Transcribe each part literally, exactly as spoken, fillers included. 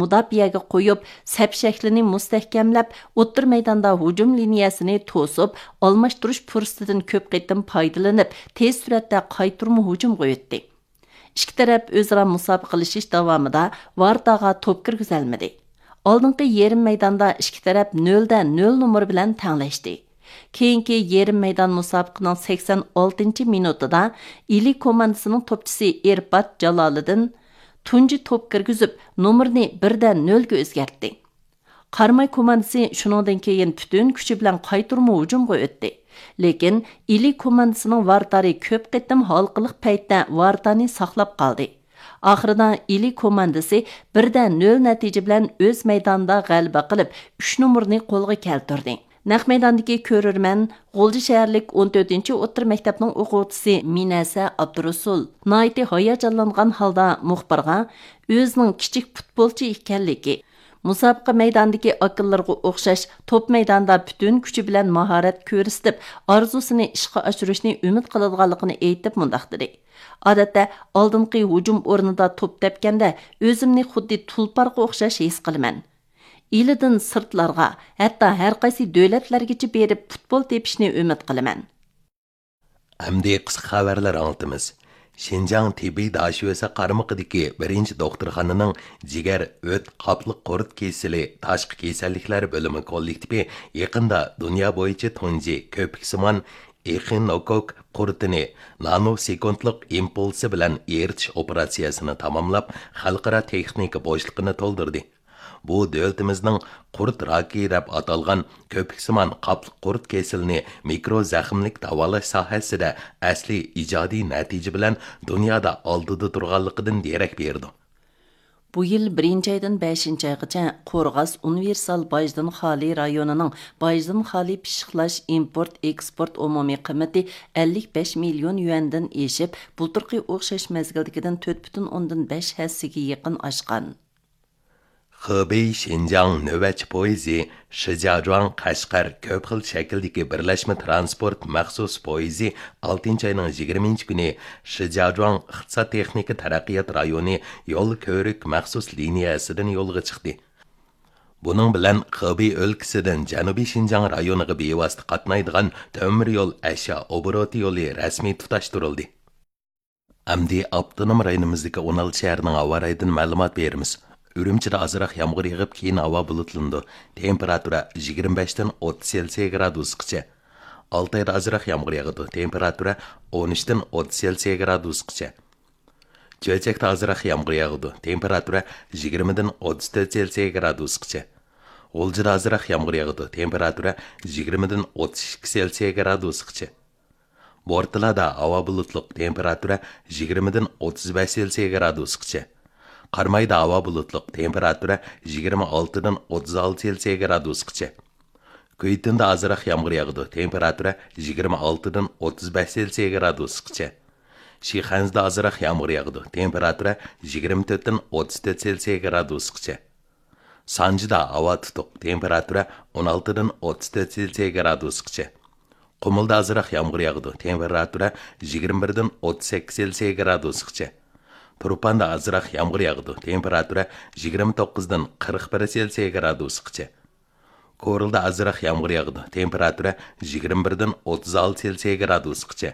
مۇداپىئەگە قويۇپ، سەپ شەكلىنى مۇستەھكەملەپ، ئوتتۇرا مەيداندا ھۇجۇم لىنىيەسىنى توسۇپ، ئالماشتۇرۇش پۇرسىتىدىن كۆپ قېتىم پايدىلىنىپ، تېز سۈرئەتتە قايتۇرما ھۇجۇمغا ئۆتتى. ئىككى تەرەپ ئۆزئارا مۇسابىقىلىشىش داۋامىدا ۋارتاغا توپ كىرگۈزەلمىدى. ئالدىنقى يېرىم مەيداندا ئىككى تەرەپ نۆلدە نۆل نومۇر بىلەن تەڭلەشتى. كېيىنكى يېرىم مەيدان مۇسابىقىنىڭ سەكسەن ئالتىنچى مىنۇتىدا ئىلى كوماندىسىنىڭ توپچىسى ئېرپات جالالىدىن تۇنجى توپ كىرگۈزۈپ، نومۇرنى بىردە نۆلگە ئۆزگەرتتى. قاراماي كوماندىسى شۇنىڭدىن كېيىن پۈتۈن كۈچى بىلەن قايتۇرما ھۇجۇمغا ئۆتتى. لېكىن ئىلى كوماندىسىنىڭ ۋارتارى كۆپ قېتىم ھالقىلىق پەيتتە ۋارتانى ساقلاپ قالدى. ئاخىرىدا ئىلى كوماندىسى بىردە نۆل نەتىجە بىلەن ئۆز مەيدانىدا غەلىبە قىلىپ، ئۈچ نومۇرنى قولغا كەلتۈردى. نەق مەيداندىكى كۆرۈرمەن، غۇلجا شەھەرلىك ئون تۆتىنچى ئوتتۇرا مەكتەپنىڭ ئوقۇغۇچىسى مىنەسە ئابدۇرۇسۇل ناھايىتى ھاياجانلانغان ھالدا مۇخبىرغا ئۆزىنىڭ كىچىك پۇتبولچى ئىكەنلىكى، مۇسابىقە مەيدانىدىكى ئاكىلىرىغا ئوخشاش توپ مەيدانىدا پۈتۈن كۈچى بىلەن ماھارەت كۆرسىتىپ، ئارزۇسىنى ئىشقا ئاشۇرۇشنى ئۈمىد قىلىدىغانلىقىنى ئېيتىپ مۇنداق دېدى: «ئادەتتە ئالدىنقى ھۇجۇم ئورنىدا توپ تەپكەندە ئۆزۈمنى خۇددى تۇلپارغا ئوخشاش ھېس قىلىمەن. ئىلىدىن سىرتلارغا، ھەتتا ھەر قايسى دۆلەتلەرگىچە بېرىپ پۇتبول تېپىشنى ئۈمىد قىلىمەن.» ئەمدى قىسقا خەۋەرلەر ئاڭلىتىمىز. شىنجاڭ تېببىي داشۆسە قارمىقىدىكى بىرىنچى دوختۇرخانىنىڭ جىگەر، ئۆت، قاپلىق قۇرت كېسىلى تاشقى كېسەللىكلەر بۆلۈمى كوللېكتىپى يېقىندا دۇنيا بويىچە تۇنجى كۆپۈكسىمان ئېخىنوكوك قۇرتىنى نانو سېكۇنتلۇق ئىمپۇلسى بىلەن ئېرىتىش ئوپېراتسىيەسىنى تاماملاپ، خەلقئارا تېخنىكا بوشلۇقىنى تولدۇردى. بۇ دۆلىتىمىزنىڭ قۇرت راكى دەپ ئاتالغان كۆپۈكسىمان قاپلىق قۇرت كېسىلىنى مىكرو زەخىملىك داۋالاش ساھەسىدە ئەسلىي ئىجادىي نەتىجە بىلەن دۇنيادا ئالدىدا تۇرغانلىقىدىن دېرەك بېرىدۇ. بۇ يىل بىرىنچى ئايدىن بەشىنچى ئايغىچە قورغاس ئۇنىۋېرسال باجدىن خالىي رايونىنىڭ باجدىن خالىي پىششىقلاش ئىمپورت ئېكسپورت ئومۇمىي قىممىتى ئەللىك بەش مىليون يۈەندىن ئېشىپ، بۇلتۇرقى ئوخشاش مەزگىلدىكىدىن تۆت پۈتۈن ئوندىن بەش ھەسسىگە يېقىن ئاشقان. خېبېي شىنجاڭ نۆۋەتچى پويىزى شىجياجۇاڭ قەشقەر كۆپ خىل شەكىلدىكى بىرلەشمە تىرانسپورت مەخسۇس پويىزى ئالتىنچى ئاينىڭ يىگىرمىنچى كۈنى شىجياجۇاڭ ئىقتىساد تېخنىكا تەرەققىيات رايونى يول كۆۋرۈك مەخسۇس لىنىيەسىدىن يولغا چىقتى. بۇنىڭ بىلەن خېبېي ئۆلكىسىدىن جەنۇبىي شىنجاڭ رايونىغا بىۋاسىتە قاتنايدىغان تۆمۈر يول ئەشيا ئوبوروتى يولى رەسمىي تۇتاشتۇرۇلدى. ئەمدى ئاپتونوم رايونىمىزدىكى ئون ئالتە شەھەرنىڭ ھاۋا رايىدىن مەلۇمات بېرىمىز. ئۈرۈمچىدە ئازراق يامغۇر يېغىپ، كېيىن ھاۋا بۇلۇتلىنىدۇ. تېمپېراتۇرا يىگىرمە بەشتىن ئوتتۇز سېلسىيە گرادۇسقىچە. ئالتايدا ئازراق يامغۇر ياغىدۇ. تېمپېراتۇرا ئون ئۈچتىن ئوتتۇز سېلسىيە گرادۇسقىچە. چۆچەكتە ئازراق يامغۇر ياغىدۇ. تېمپېراتۇرا يىگىرمىدىن ئوتتۇز تۆت سېلسىيە گرادۇسقىچە. غۇلجىدا ئازراق يامغۇر ياغىدۇ. تېمپېراتۇرا يىگىرمىدىن ئوتتۇز ئىككى سېلسىيە گرادۇسقىچە. بورتالادا ھاۋا بۇلۇتلۇق، تېمپېراتۇرا يىگىرمىدىن ئوتتۇز بەش سېلسىيە گرادۇسقىچە. قارامايدا ھاۋا بۇلۇتلۇق، تېمپېراتۇرا يىگىرمە ئالتىدىن ئوتتۇز ئالتە سېلسىيە گرادۇسقىچە. كۈيتۈندە ئازراق يامغۇر ياغىدۇ، تېمپېراتۇرا يىگىرمە ئالتىدىن ئوتتۇز بەش سېلسىيە گرادۇسقىچە. شىخەنزىدە ئازراق يامغۇر ياغىدۇ، تېمپېراتۇرا يىگىرمە تۆتتىن ئوتتۇز تۆت سېلسىيە گرادۇسقىچە. سانجىدا ھاۋا تۇتۇق، تېمپېراتۇرا ئون ئالتىدىن ئوتتۇز تۆت سېلسىيە گرادۇسقىچە. قۇمۇلدا ئازراق يامغۇر ياغىدۇ، تېمپېراتۇرا يىگىرمە بىردىن ئوتتۇز سەككىز سېلسىيە گرادۇسقىچە. تۇرپاندا ئازراق يامغۇر ياغىدۇ، تېمپېراتۇرا يىگىرمە توققۇزدىن قىرىق بىر سېلسىيە گرادۇسقىچە. كورلىدا ئازراق يامغۇر ياغىدۇ، تېمپېراتۇرا يىگىرمە بىردىن ئوتتۇز ئالتە سېلسىيە گرادۇسقىچە.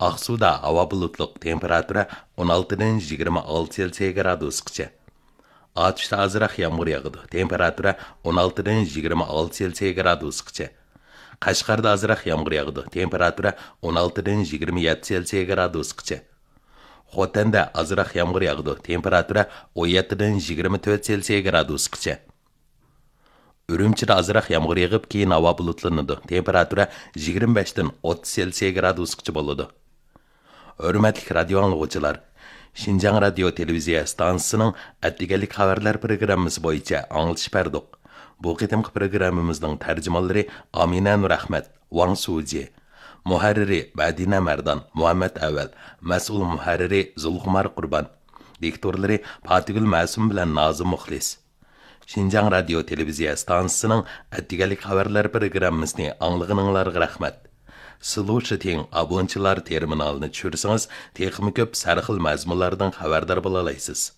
ئاقسۇدا ھاۋا بۇلۇتلۇق، تېمپېراتۇرا ئون ئالتىدىن يىگىرمە ئالتە سېلسىيە گرادۇسقىچە. ئاتۇشتا ئازراق يامغۇر ياغىدۇ، تېمپېراتۇرا ئون ئالتىدىن يىگىرمە ئالتە سېلسىيە گرادۇسقىچە. قەشقەردە ئازراق يامغۇر ياغىدۇ، تېمپېراتۇرا ئون ئالتىدىن يىگىرمە يەتتە سېلسىيە گرادۇسقىچە. خوتەندە ئازراق يامغۇر ياغىدۇ، تېمپېراتۇرا ئون يەتتىدىن يىگىرمە تۆت سېلسىيە گرادۇسقىچە. ئۈرۈمچىدە ئازراق يامغۇر يېغىپ، كېيىن ھاۋا بۇلۇتلىنىدۇ، تېمپېراتۇرا يىگىرمە بەشتىن ئوتتۇز سېلسىيە گرادۇسقىچە بولىدۇ. ھۆرمەتلىك رادىيو ئاڭلىغۇچىلار، شىنجاڭ رادىيو تېلېۋىزىيە ئىستانسىسىنىڭ ئەتىگەنلىك خەۋەرلەر پروگراممىسى بويىچە ئاڭلىتىش بەردۇق. بۇ قېتىمقى پروگراممىمىزنىڭ تەرجىمانلىرى ئامىنە نۇرئەخمەت، ۋاڭ سۇجى، مۇھەررىرى مەدىنە مەردان، مۇھەممەت ئەۋەل، مەسئۇل مۇھەررىرى زۇلخۇمار قۇربان، دىكتورلىرى پاتىگۈل مەسۇم بىلەن نازىم مۇخلىس. شىنجاڭ رادىيو تېلېۋىزىيە ئىستانسىسىنىڭ ئەتىگەنلىك خەۋەرلەر پروگراممىسىنى ئاڭلىغىنىڭلارغا رەھمەت. سلۇشىتىڭ ئابونچىلار تېرمىنالىنى چۈشۈرسىڭىز، تېخىمۇ كۆپ سەرخىل مەزمۇنلاردىن خەۋەردار بولالايسىز.